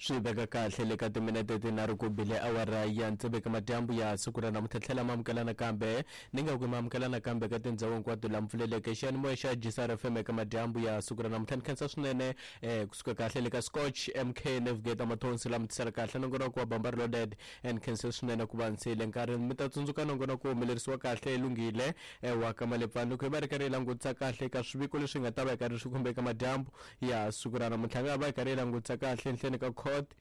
Swi veka kahle le ka timinete tinharhu ku bile awara ya tsevu eka madyambu ya siku ra namuntlha. Tlhela ma amukela nakambe ni nga ku ma amukela nakambe ka tindhawu hinkwato la mpfuleleke xiyanimoya xa GCR FM eka madyambu ya siku ra namuntlha. Ni khensa swinene kusuka kahle le ka Scotch MK Navigator Mathonsi la mi tisela kahle nongonoko wa Bamba Reloaded. Ni khense swinene ku va ni siyile nkarhi. Mi ta tsundzuka nongonoko wu humelerisiwa kahle Lunghile wa ka Malepfani loko hi va ri karhi hi langutisa kahle eka swiviko leswi nga ta va hi karhi swi khumba eka madyambu ya siku ra namuntlha. Nga va hi karhi hi langutisa kahle enhleni ka court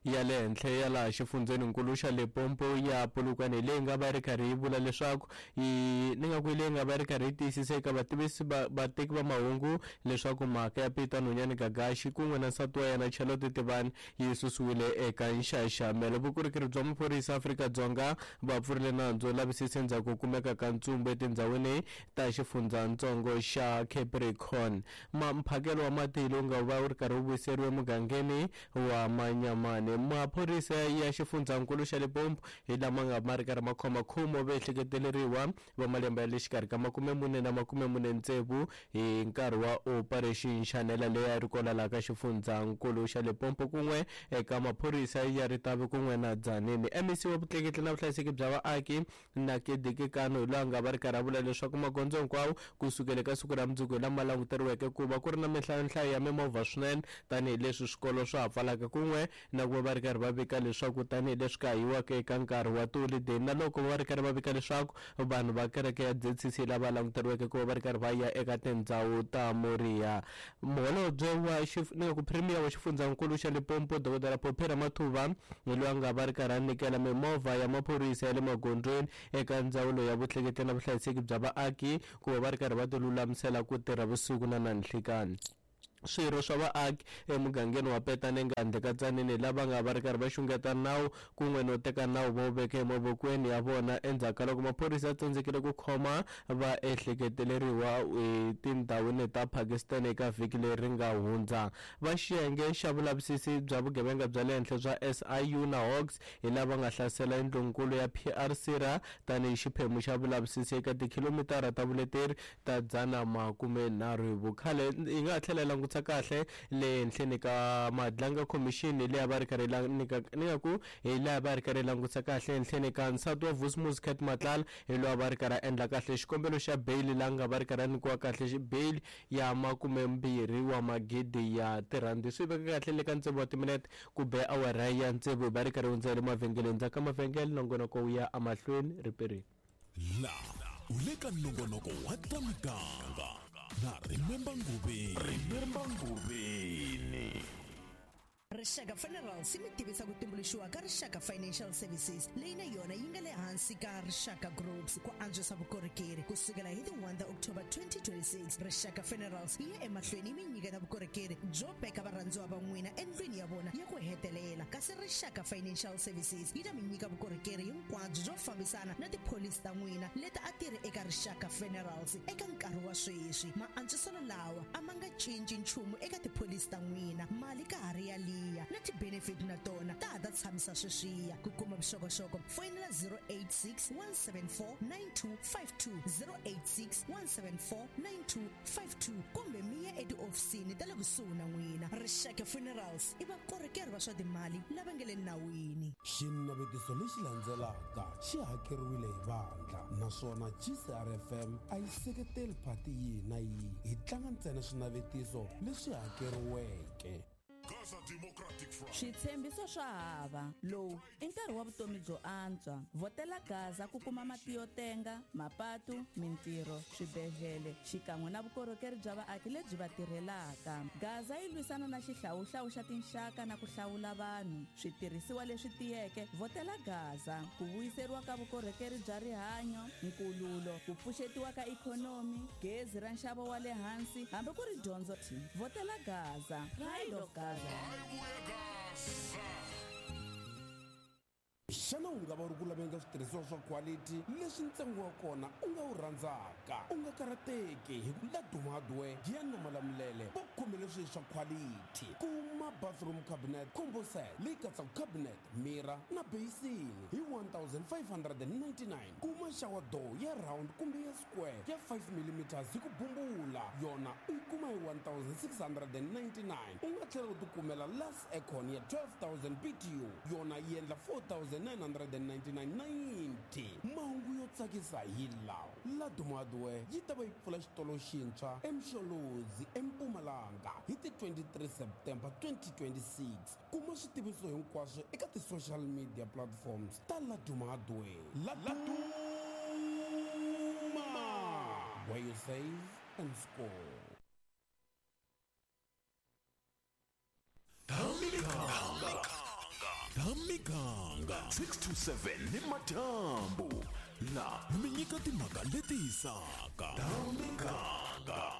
ya le henhla ya laha xifundzheninkulu xa Limpopo ya Polokwane leyi nga va ri karhi yi vula leswaku yi ni nga ku leyi nga va ri karhi yi tiyisisa eka vativisi va vateki va mahungu leswaku mhaka ya Peter Nonyane Gagashi kun'we na nsati wa yena Charlotte Tivani yi susiwile eka nxaxamelo. Vukorhokeri bya maphorisa Afrika-Dzonga va pfurile nandzu wo lavisisa endzhaku ko kumeka ka ntsumbu etindhawini ta xifundzhantsongo xa Capricorn. Ma mphakelo wa mati lowu nga va wu ri karhi wu vuyiseriwa emugangeni wa Manyamani. Maphorisa ya xifundzhankulu xa Limpopo hi lama nga ma ri karhi ma khoma khumo vaehleketeleriwa va malembe ya le xikarhi ka 40 na 46 hi nkarhi wa Operation Shanela leyi a yi ri kona laha ka xifundzhankulu xa Limpopo kun'we eka maphorisa ya Ritavi kun'we na Tzaneen. MEC wa vutleketli na vuhlayiseki bya vaaki Nakedi Kekano hi loyi a nga va ri karhi a vula leswaku magondzo hinkwawo ku sukela eka siku ra mundzuku hi lama languteriweke ku va ku ri na minhlayonhlayo ya mimovha swinene tanihileswi swikolo swa ha pfalaka kun'we na ku va va ri karhi va vika leswaku tanihileswi ka ha yiwaka eka nkarhi wa tiholideyi na loko va ri karhi va vika leswaku vanhu va kereke ya ZCC lava languteriweke ku va va ri karhi va ya eka tindhawu ta Moriya. Muholobye wa ni nga ku Premier wa xifundzankulu xa Limpopo Dokodela Phophi Ramathuva hi loyi a nga va ri karhi a nyikela mimovha ya maphorisa ya le magondzweni eka ndzawulo ya vutleketli na vuhlayiseki bya vaaki ku va va ri karhi va tilulamisela ku tirha vusiku na na nhlikani. Swirho swa vaaki emugangeni wa Petaneng handle ka Tzaneen lava nga va ri karhi va xungeta nawu kun'we no teka nawu va wu veka emavokweni ya vona endzhaku ka loko maphorisa ya tsandzekile ku khoma vaehleketeleriwa etindhawini ta Pakistan eka vhiki leri nga hundza. Va xiyenge xa vulavisisi bya vugevenga bya le henhla bya SIU na Hawks hi lava nga hlasela yindlunkulu ya PR Sira tanihi xiphemu xa vulavisisi eka tikhilomitara ta vuleteri ta 130 hi vukhale. Hi nga ha tlhela hi langutisa kahle le henhleni ka Madlanga Commission leyi a va ri karhi nyika ni nga ku hi laha va ri karhi hi langutisa kahle henhleni ka nsati wa Vusimuzi Cat Matlala hi loyi a va ri karhi a endla kahle xikombelo xa bail laha nga va ri karhi a nyikiwa kahle bail ya 20 wa magidi ya tirhandi. Swi veka kahle le ka tsevu wa timinete ku be awara ya tsevu hi va ri karhi hundza hi le mavhengeleni ndzhaku ka mavhengele nongonoko wu ya emahlweni riperini. La u le ka nongonoko wa ta miganga na Remember Nguveni. Remember Nguveni. Rixaka Funerals yi mi tivisa ku tumbuluxiwa ka Rixaka Financial Services leyi na yona yi nga le hansi ka Rixaka Groups ku antswisa vukorhokeri. Ku sukela hi ti 1 ta October 2026, Rixaka Funerals yi ya emahlweni yi mi nyiketa vukorhokeri byo veka varhandziwa va n'wina endlwini ya vona ya ku hetelela, kasi Rixaka Financial Services yi ta mi nyika vukorhokeri hinkwabyo byo fambisana na tipholisi ta n'wina leti a ti ri eka Rixaka Funerals eka nkarhi wa sweswi. Maantswiselo lawa a ma nga cinci nchumu eka tipholisi ta n'wina. Mali ka ha ri yaliya na ti-benefit na tona ta ha ta tshamisa sweswiya. Ku kuma vuxokoxoko foyinela 086 174 9252, 086 174 9252 kumbe mi ya etihofisini ta le kusuhi na n'wina. Rixaka Funerals i vakorhokeri va swa timali lava nga le nawini. Xinavetiso lexi landzelaka xi hakeriwile hi vandla naswona GCRFM a yi seketeli phati yihi na yihi. Hi tlanga ntsena swinavetiso leswi hakeriweke. Switshembiso swa hava. Lowu i nkarhi wa vutomi byo antswa. Vhotela Gaza ku kuma mati yo tenga, mapatu, mintirho, swibedhlele xikan'we na vukorhokeri bya vaaki lebyi va tirhelaka. Gaza yi lwisana na xihlawuhlawu xa tinxaka na ku hlawula vanhu. Switirhisiwa leswi tiyeke, vhotela Gaza ku vuyiseriwa ka vukorhokeri bya rihanyo, nkululo, ku pfuxetiwa ka ikhonomi, gezi ra nxavo wa le hansi hambi ku ri dyondzo. Vhotela Gaza. Pride of Gaza. Hayi vuye Gaza. Xana u nga va u ri ku laveni ka switirhisiwa swa quality leswi ntsengo wa kona u nga wu rhandzaka? U nga karhateki hi ku Laduma Hardware ya na Malamulele va khomele swilo swa quality. Kuma bathroom cabinet combo set leyi katsaka cabinet, mirror na basin hi 1599. Kuma shower door ya round kumbe ya square ya 5 mm hi ku bumbula, yona u yi kuma hi 1699. U nga tlhela u tikumela Lux aircon ya 12000 BTU, yona yi endla 4999.90. Mahungu yo tsakisa hi lawa: Laduma Hardware yi ta va yi pfula xitolo xintshwa eMsholozi eMpumalanga hi ti 23 September 2026. Kuma switiviso hinkwaswo eka ti-social media platforms ta Laduma Hardware. Laduma, where you save and score. Thamiganga 6 to 7 ni madyambu la mi nyika timhaka leti hisaka. Thamiganga.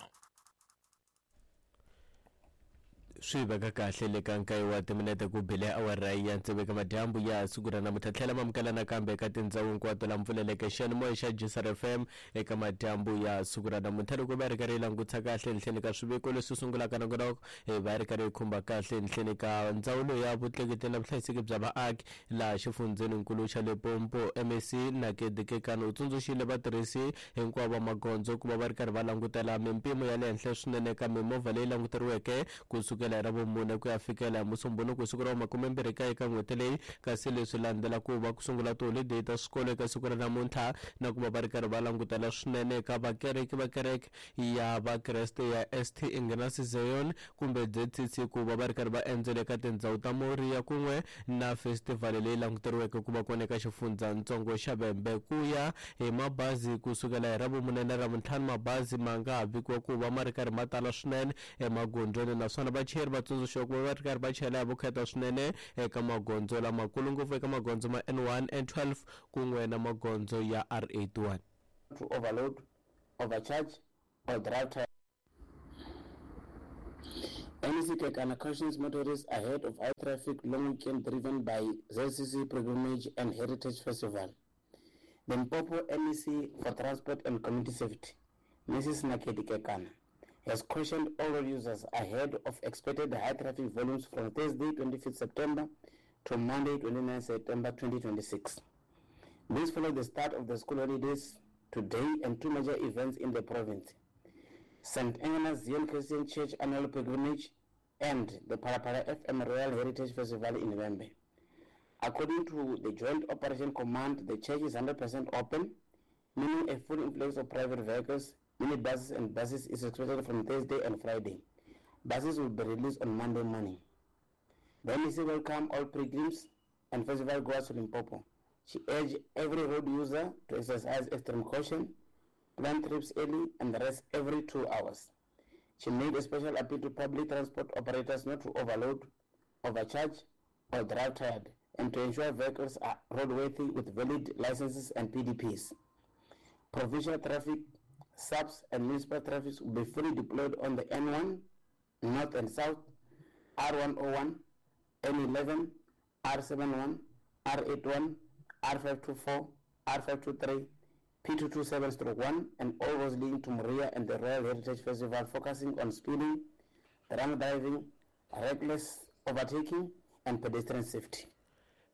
Swi veka kahle le ka nkaye wa timinete ku bile awara ya tsevu eka madyambu ya siku ra namuntlha. Tlhela mamukela nakambe eka tindhawu hinkwato la mpfuleleke xiyanimoya xa Gsr FM eka madyambu ya siku ra namuntlha. Loko va ri karhi yi langutisa kahle henhleni ka swiviko leswi sungulaka nongonoko, hi va ri karhi yi khumba kahle henhleni ka ndzawulo ya vutleketli na vuhlayiseki bya vaaki laha xifundzheninkulu xa Limpopo. MEC Nakedi Kekana u tsundzuxile vatirhisi hinkwavo va magondzo ku va va ri karhi va langutela mimpimo ya le henhla swinene ka mimovha leyi languteriweke kusukela hi Ravumune ku ya fikela hi Musumbhunuku siku ra 29 ka n'hweti leyi, kasi leswi landzela ku va ku sungula tiholideyi ta swikolo eka siku ra namuntlha, na ku va va ri karhi va langutela swinene eka vakereki va kereke ya Vakreste ya ST Ignatius Zion kumbe ZCC ku va va ri karhi va endzela eka tindhawu ta Moriya kun'we na festival leyi languteriweke ku va kona eka xifundzhantsongo xa Vhembe. Ku ya hi mabazi kusukela hi Ravumune na Ravuntlhanu, mabazi ma nga ha vikiwa ku va ma ri karhi ma tala swinene emagondzweni, naswona vachayeri va tsundzuxiwa ku va va ri karhi va chayela hi vukheta swinene eka magondzo lamakulu, ngopfu eka magondzo ma N1, N12 kun'we na magondzo ya R81. To overload, overcharge, or drive tired. MEC Kekana cautions motorists ahead of high traffic long weekend driven by ZCC Pilgrimage and Heritage Festival. The Limpopo MEC for Transport and Community Safety, Mrs. Nakedi Kekana, has cautioned all road users ahead of expected high traffic volumes from Thursday, 25th September to Monday, 29th September 2026. This follows the start of the school holidays today and two major events in the province: St. Agnes Zion Christian Church Annual Pilgrimage and the Phalaphala FM Royal Heritage Festival in Vhembe. According to the Joint Operation Command, the church is 100% open, meaning a full influx of private vehicles, minibuses and buses is expected from Thursday and Friday. Buses will be released on Monday morning. The MEC welcomed all pilgrims and festival goers to Limpopo. She urged every road user to exercise extreme caution, plan trips early, and rest every 2 hours. She made a special appeal to public transport operators not to overload, overcharge, or drive tired, and to ensure vehicles are roadworthy with valid licenses and PDPs. Provincial traffic, SAPS, and municipal traffic will be fully deployed on the N1, North and South, R101, N11, R71, R81, R524, R523, P227-1, and all roads leading to Moria and the Royal Heritage Festival, focusing on speeding, drunk driving, reckless overtaking, and pedestrian safety.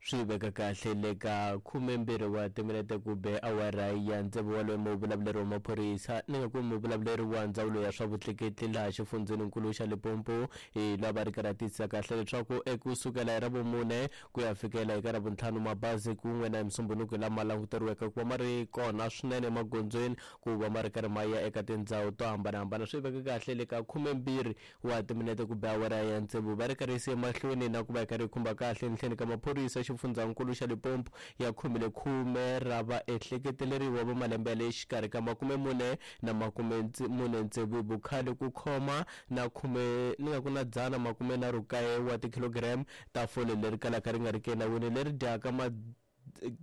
Swi veka kahle le ka 12 wa timinete ku be awara ya tsevu waloye muvulavuleri wa maphorisa, ni nga ku muvulavuleri wa ndzawulo ya swa vutleketli laha xifundzheninkulu xa Limpopo, hi lava ri karhi tiyisisa kahle leswaku ekusukela hi Ravumune ku ya fikela eka Ravuntlhanu, mabazi kun'we na Musumbhunuku lama languteriweke ku va ma ri kona swinene emagondzweni ku va ma ri karhi ma ya eka tindhawu to hambanahambana. Swi veka kahle le ka 12 wa timinete ku be awara ya tsevu, va ri karhi yise emahlweni na ku va yi karhi yi khumba kahle enhleni ka maphorisa xifundzhankulu xa Limpopo ya khomile 10 ra vaehleketeleriwa va malembe ya le xikarhi ka 40 na 46 vukhale ku khoma na khume ni nga ku na 139 wa tikhilogiramu ta fole leri kalaka ri nga ri ki enawini leri dyaka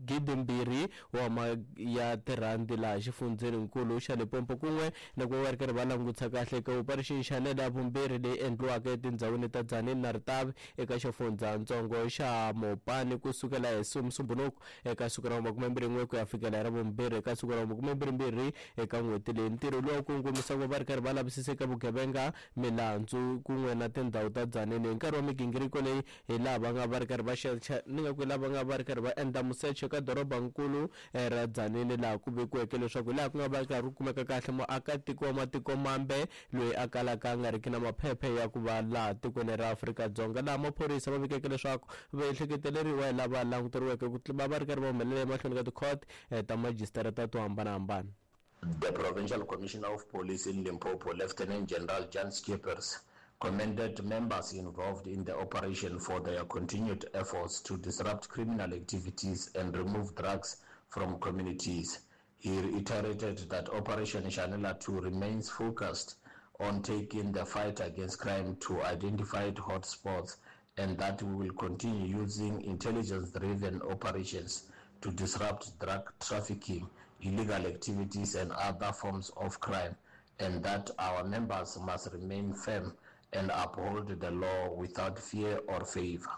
2,000 wa ya tirhandi laha xifundzeninkulu xa Limpopo kun'we na ku va ri karhi va langutisa kahle eka operation Shanela ya vumbirhi leyi endliwaka etindhawini ta Tzaneen na Ritavi eka xifundzatsongo xa Mopani kusukela hi Musumbhunuku eka siku ra 21 ku ya fikela hi ra vumbirhi eka siku ra 22 eka n'hweti leyi. Ntirho lowu kongomisa ku va ri karhi va lavisisa eka vugevenga, milandzu kun'we na tindhawu ta Tzaneen hi nkarhi wa migingiriko leyi hi laha va nga va ri karhi va ni nga ku hi laha va nga va ri karhi va endla musecho eka dorobankulu ra Tzaneen laha ku vekiweke leswaku hi laha ku nga va karhi ku kumeka kahle muakatiko wa matiko mambe loyi a kalaka a nga riki na maphephe ya ku va laha tikweni ra Afrika-Dzonga, laha maphorisa va vikeke leswaku va ehleketeleriwa hi lava languteriweke ku va va ri karhi va humelela emahlweni ka tikhoti ta majisitarata to hambanahambana. The Provincial Commissioner of Police in Limpopo, Lieutenant General Jan Schippers, commended members involved in the operation for their continued efforts to disrupt criminal activities and remove drugs from communities. He reiterated that Operation Shanela 2 remains focused on taking the fight against crime to identified hotspots and that we will continue using intelligence-driven operations to disrupt drug trafficking, illegal activities and other forms of crime, and that our members must remain firm and uphold the law without fear or favor.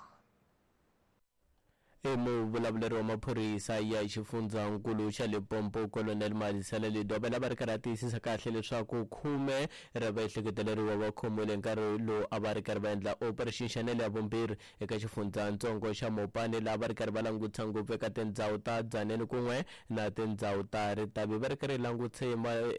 Muvulavuleri wa maphorisa ya xifundzankulu xa Limpopo Colonel Malisela Lidobela va ri karhi a tiyisisa kahle leswaku 10 ra vaehleketeleriwa va khomiwile nkarhi lowu a va ri karhi va endla Operation Shanela ya vumbirhi eka xifundzatsongo xa Mopani, laha va ri karhi va langutisa ngopfu eka tindhawu ta Tzaneen kun'we na tindhawu ta Ritavi, va ri karhi langutisa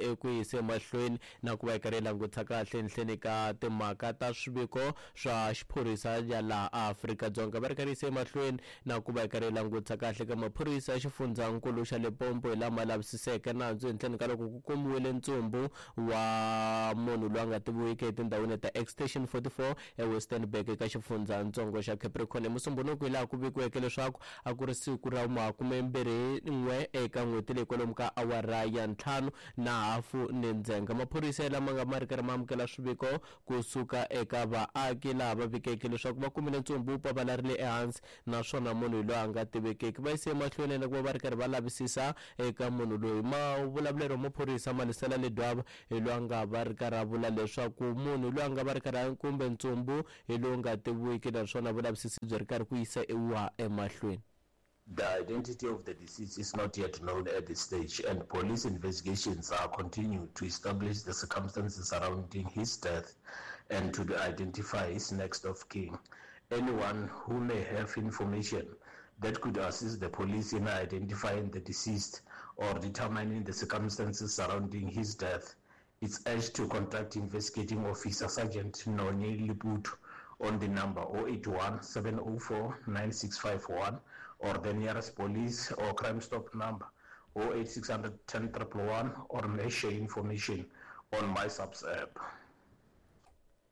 eku yisa emahlweni na ku va yi karhi yi langutisa kahle enhleni ka timhaka ta swiviko swa xiphorisa ya laha Afrika-Dzonga, va ri karhi yisa emahlweni na ku va yi karhi yi langutisa kahle ka maphorisa ya xifundzankulu xa Limpopo hi lama lavisiseke nandzu henhleni ka loko ku kumiwile ntsumbu wa munhu loyi a nga tiviwiki etindhawini ta Extension 44 eWestenburg eka xifundzatsongo xa Capricorn. Hi Musumbhunuku hi laha ku vikiweke leswaku a ku ri siku ra 21 eka n'hweti leyi kwalomu ka awara ya 5:30 ni ndzhenga. Maphorisa lama nga ma ri karhi ma amukela swiviko kusuka eka vaaki laha va vikeke leswaku va kumile ntsumbu wu pavalarile ehansi naswona munhu loyi a nga tivekeki. Va yise emahlweni na ku va va ri karhi va lavisisa eka munhu loyi. Mavulavulelo wa maphorisa Malisela Ledwaba hi loyi a nga va ri karhi a vula leswaku munhu loyi a nga va ri karhi kumbe ntsumbu hi lowu nga tiviwiki naswona vulavisisi byi ri karhi ku yisa emahlweni. The identity of the deceased is not yet known at this stage, and police investigations are continued to establish the circumstances surrounding his death and to identify his next of kin. Anyone who may have information that could assist the police in identifying the deceased or determining the circumstances surrounding his death is urged to contact investigating officer Sergeant Noni Liputu on the number 081 704 9651 or the nearest police or Crime Stop number 08600 10 111 or may share information on MySAPS app.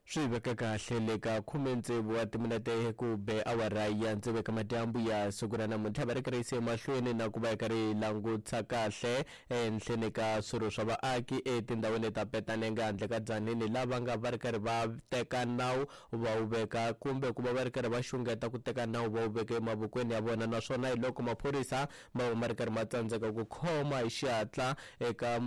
Swi veka kahle le ka 16 wa timinete ku be awara ya 6 ka madyambu ya siku ra namuntlha, va ri karhi yisa emahlweni na ku va yi karhi yi langutisa kahle enhleni ka swirho swa vaaki etindhawini ta Petanenge handle ka Tzaneen, lava nga va ri karhi va teka nawu va wu veka kumbe ku va va ri karhi va xungeta ku teka nawu va wu veka emavokweni ya vona, naswona hi loko maphorisa ma va ma ri karhi ma tsandzeka ku khoma hi xihatla eka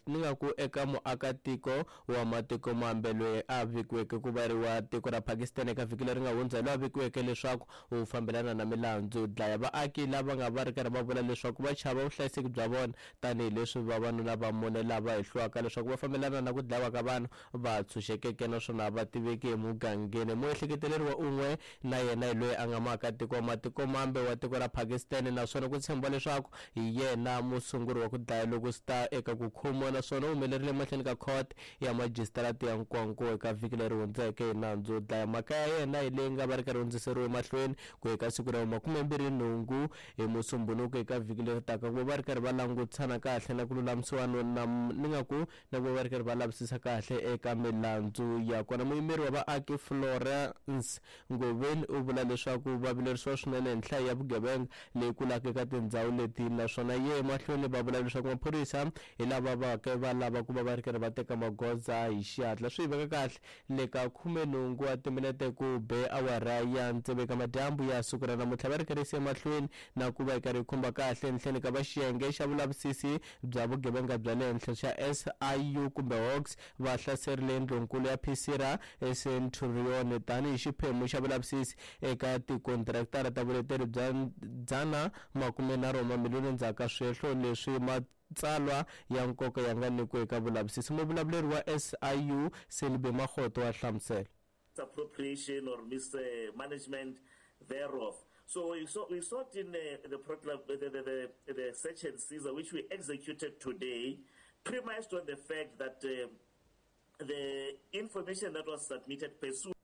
ni nga ku eka muakatiko wa matiko mambe loyi a vikiweke ku va ri wa tiko ra Pakistan eka vhiki leri nga hundza, loyi a vikiweke leswaku u fambelana na milandzu dlaya vaaki lava nga va ri karhi va vula leswaku va chava vuhlayiseki bya vona tanihileswi vavanuna va mune lava hehliwaka leswaku va fambelana na ku dlawa ka vanhu va tshunxekeke naswona va tiveki emugangeni. Muehleketeleriwa un'we na yena hi loyi a nga muakatiko wa matiko mambe wa tiko ra Pakistan, naswona ku tshembiwa leswaku hi yena musunguri wa ku dlaya loko swi ta eka ku khomiwa, naswona u humelerile emahlweni ka court ya majisitarata ya Nkowankowa eka vhiki leri hundzeke hi nandzu wo dlaya. Mhaka ya yena hi leyi nga va ri karhi hundziseriwe emahlweni ku eka siku ra 28 hi Musumbhunuku eka vhiki leri taka, ku va va ri karhi va langutisana kahle na ku lulamisiwa na ni nga ku na ku va va ri karhi va lavisisa kahle eka milandzu ya kona. Muyimeri wa vaaki Florence Ngoveni u vula leswaku va vilerisiwa swinene hi nhlayo ya vugevenga leyi kulaka eka tindhawu leti, naswona ye emahlweni va vula leswaku maphorisa hi lava va ke va lava ku va va ri karhi va teka magoza hi xihatla. Swi veka kahle le Leka 18 wa timinete ku be awara ya tsevu eka madyambu ya siku ra namuntlha va ri karhi emahlweni na ku va yi karhi yi khumba kahle enhleni ka va xiyenge xa vulavisisi bya vugevenga bya le henhla xa SIU kumbe Hawks va hlaserile ndlunkulu ya Psira eCenturion tanihi xiphemu xa vulavisisi eka tikontraktara ta vuleteri bya 130 wa mamiliyoni endzhaku ka swihehlo leswi matsalwa ya nkoka ya nga nyikiwa eka vulavisisi. Muvulavuleri wa SIU Selibe Makgoto wa hlamusela. Appropriation or mismanagement thereof. So we sought in the search and seizure, which we executed today, premised on the fact that the information that was submitted pursuant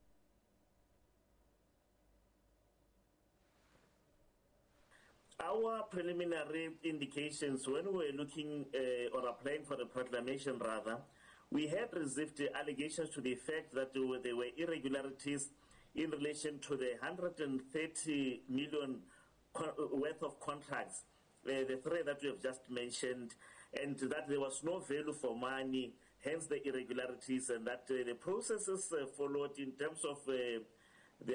our preliminary indications when we were looking or applying for the proclamation rather, we had received allegations to the effect that there were irregularities in relation to the 130 million worth of contracts, the three that we have just mentioned, and that there was no value for money, hence the irregularities, and that the processes followed in terms of the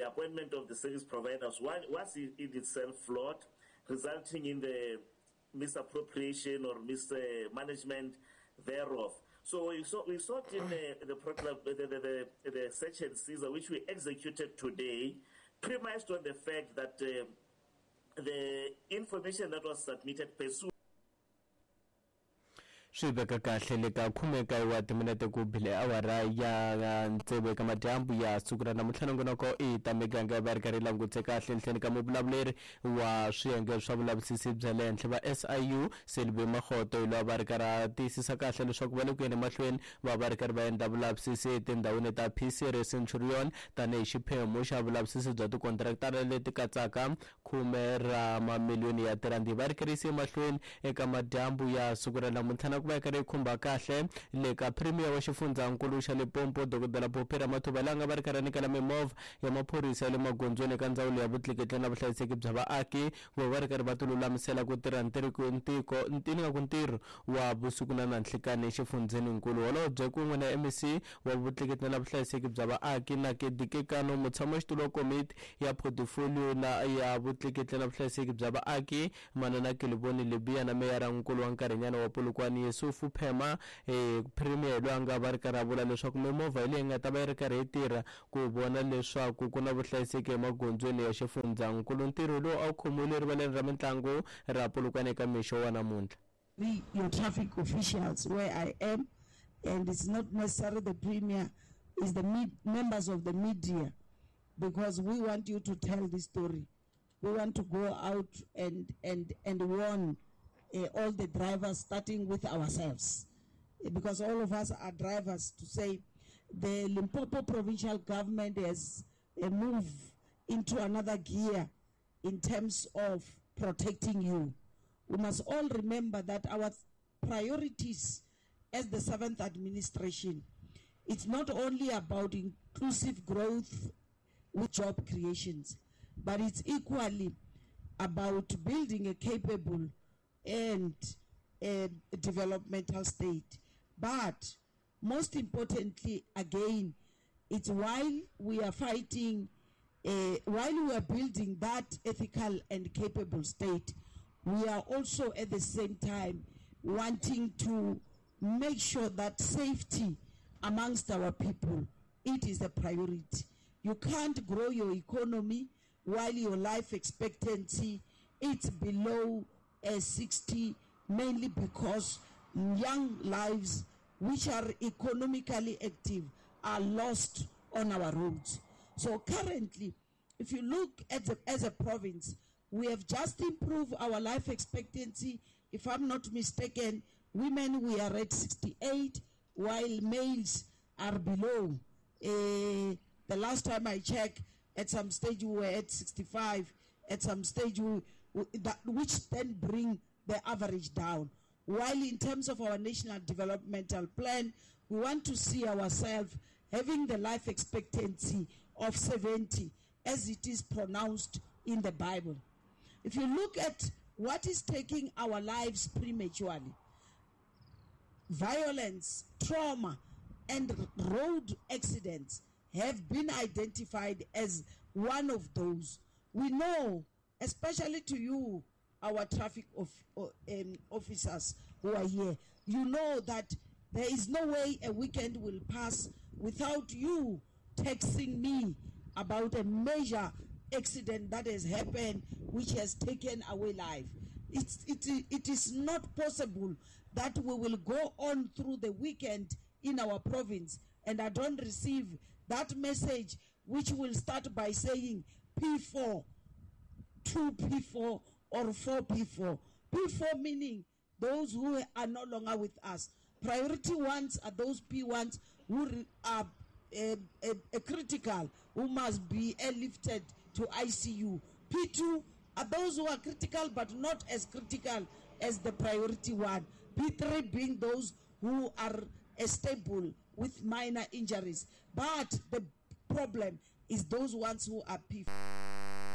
appointment of the service providers was in itself flawed, resulting in the misappropriation or mismanagement thereof. So we sought in the search and seizure, which we executed today, premised on the fact that the information that was submitted pursuant Swi veka kahle le ka 19 wa timinete ku bile awara ya tsevu eka madyambu ya siku ra namuntlha. Nongonoko i ta miganga va ri karhi langutse kahle enhleni ka muvulavuleri wa swiyenge swa vulavisisi bya le henhla va SIU Selibe Makgoto hi loyi va ri karhi a tiyisisa kahle leswaku va le ku yeni emahlweni va va ri karhi va endla vulavisisi etindhawini ta PC Centurion tanihi xiphemu xa vulavisisi bya tikontraktara leti katsaka 10 ra mamiliyoni ya tirandi. Va ri karhi emahlweni eka madyambu ya siku ra namuntlha na ku va yi karhi yi khumba kahle le ka Premier wa xifundzankulu xa Limpopo Dr Phophi Ramathuba laha nga va ri karhi a nyikela mimovha ya maphorisa ya le magondzweni eka ndzawulo ya vutleketli na vuhlayiseki bya vaaki ku va ri karhi va tilulamisela ku tirha ntirho wa vusiku na nanhlikani exifundzheninkulu. Holobye kun'we na MEC wa vutleketli na vuhlayiseki bya vaaki na Kedikekano mutshamaxitulu wa komiti ya portfolio na ya vutleketli na vuhlayiseki bya vaaki Manana Keliboni Libya na meyara nkulu wa nkarhinyana wa Polokwane Yusufu Phema. Premier loyi a nga va ri karhi a vula leswaku mimovha leyi nga ta va yi ri karhi yi tirha ku vona leswaku ku na vuhlayiseki emagondzweni ya xifundzankulu. Ntirho lowu a wu khomiwile erivaleni ra mitlangu ra Polokwane eka mixo wa namuntlha. Be your traffic officials where I am, and it's not necessarily the premier, it's the members of the media, because we want you to tell this story. We want to go out and warn all the drivers, starting with ourselves, because all of us are drivers, to say the Limpopo provincial government has moved into another gear in terms of protecting you. We must all remember that our priorities as the 7th administration, it's not only about inclusive growth with job creations, but it's equally about building a capable and a developmental state. But most importantly, again, it's while we are fighting, while we are building that ethical and capable state, we are also at the same time wanting to make sure that safety amongst our people, it is a priority. You can't grow your economy while your life expectancy is below 60, mainly because young lives which are economically active are lost on our roads. So currently, if you look at as a province, we have just improved our life expectancy. If I'm not mistaken, women, we are at 68, while males are below. The last time I checked, at some stage we were at 65, at some stage which then bring the average down. While in terms of our national developmental plan, we want to see ourselves having the life expectancy of 70, as it is pronounced in the Bible. If you look at what is taking our lives prematurely, violence, trauma, and road accidents have been identified as one of those. We know, especially to you, our traffic of, officers who are here, you know that there is no way a weekend will pass without you texting me about a major accident that has happened which has taken away life. It's, it, it is not possible that we will go on through the weekend in our province and I don't receive that message which will start by saying P4, 2P4 or 4P4. P4 meaning those who are no longer with us. Priority ones are those P1s who are critical, who must be airlifted to ICU. P2 are those who are critical but not as critical as the priority one. P3 being those who are stable with minor injuries. But the problem is those ones who are P4.